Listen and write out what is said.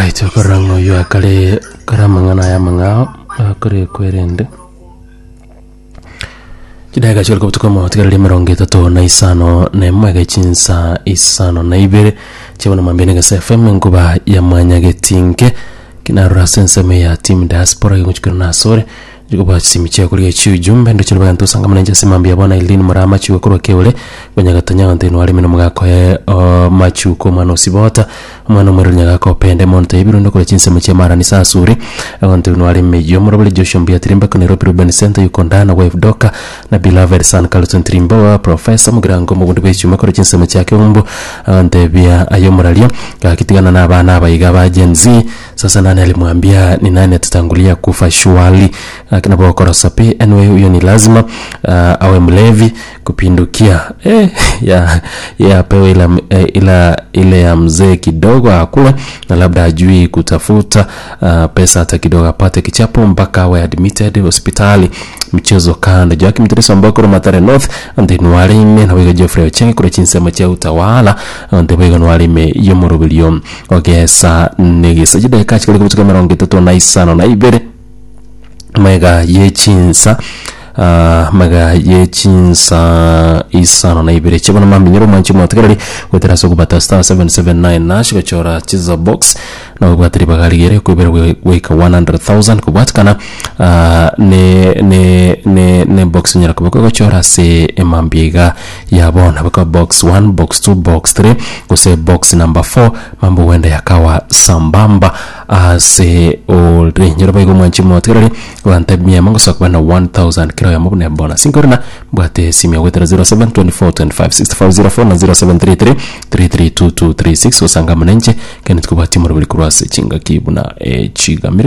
Alright, okorora ng'a oyio akare kare amang'ana aya amang'ao akore kwerende. Chidakika chigare kobutuka omotigareri emerongo etato na isano na emo ege chinsa isano na ibere chiabona mambia na Egesa FM enkuba ya mwanyagetinge kinarora ase ensemo ya team diaspora gegochikera nasore Chikobua chisemi chiaye korigia chiujumbe, ndoche nibaganete gosanga buna inche ase mambia bono Eileen Murama chigo korwa Keure, Bonyagato Nyagonto inwe areme nomogaka oye o Machuko omwana o Sibota, omwana omwerori Nyagaka Opende monto ebirundo korwa chinsemo chia Marani Sasuri, agonto inwe areme eyio Morobori Joshua Mbuya Tirimbeko Nairobi Ruben Center Yukondana Wife Doka na Beloved Son Carlton Tirimboa Professor Mugirango omobundi bw'echiuma korwa chinsemo chia Keumbu agontebia aye omoraria gaki tigana na abana aba iga ba Gen Z. Sasa nani alimwambia ni nani atatangulia kufa surely Lakini nabo okorosa pi anyway huyo ni lazima awe mlevi kupindukia eh, ya ye apewe ila, eh, ila ile ya mzee kidogo akule na labda ajui kutafuta pesa hata kidogo apate kichapo mpaka awe admitted hospitali mchezo kando Joakim Mtereso ambao korwa Mathare North ante nwarime naboigo Geoffrey Ochenge korwa chinsemo chia Utawala ante boigo nwarime yomoroberio Ogesa negesa chidakika chikare kobutuka emerongo etato na isano na ibere magega ye chinsa ah, magega ye chinsa isano na ibere chibono mambia nyoro omwanchi omotegereri goetera ase okobata star 779 nash gochora chiza box na obwate ribaga rigere koibera goika 100,000 kobwatikana ah, ne ne ne ne box onyara koba kogochora ase emambia iga ya bono baka box 1 box 2 box 3 gose box number 4 mambo huenda yakawa sambamba ase ore nyoro baigo mwanchi motigereri gwantabia mangosoka kuba na 1000 kero yamo buna bonus inkorena mbwate esimu ya gwetera 0724 25 6504 na 0733 332236 gosanga amo nainche kende tikobwatia omoroberi korwa ase chingaki buna echigamiriri.